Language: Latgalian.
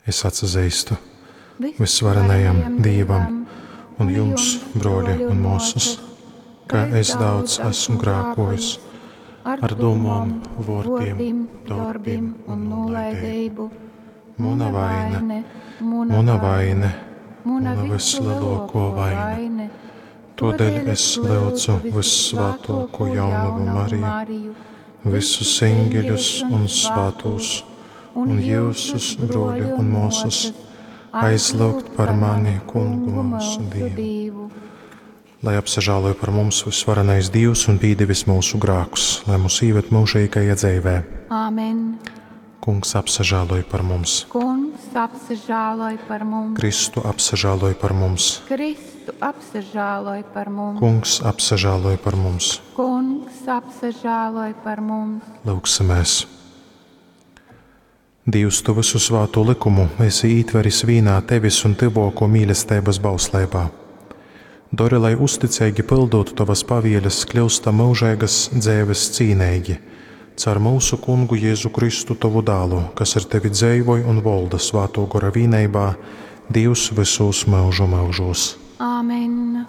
Es atsazeistu vysvarenajam Dīvam un jums, brōļi un mōsas, ka es daudz esmu grākōjis ar dūmom, vōrdim, dorbim un nūlaideibu. Muna vaine, muna vaine, muna vyslelōkō vaine. Tōdēļ es lyudzu vyssvātōkū jaunovu Mariju, visus eņģeļus un svātūs, un jyusus, brōļi un mōsas, aizlyugt par mani Kungu myusu Dīvu. Lai apsažāloj par mums vysvarenais Dīvs un pīdevis myusu grākus, lai mūs īved myužeigajā dzeivē. Āmen. Kungs apsažāloj par mums. Kungs apsažāloj par mums. Kristu apsažāloj par mums. Kristu apsažāloj par mums. Kungs apsažāloj par mums. Kungs apsažāloj par mums. Lūgsimies! Dīvs, tu visu svāto likumu esi ītveris vīnā tevis un tyvōkō mīlesteibas bausleibā. Dori, lai uzticeigi pildot tovas pavieles, kļūstam myužeigas dzeives cīneigi. Caur mūsu kungu Jēzu Kristu tovu dālu, kas ar tevi dzeivoj un volda svātō gora vīneibā, Dīvs vysūs myužu myužūs. Āmen.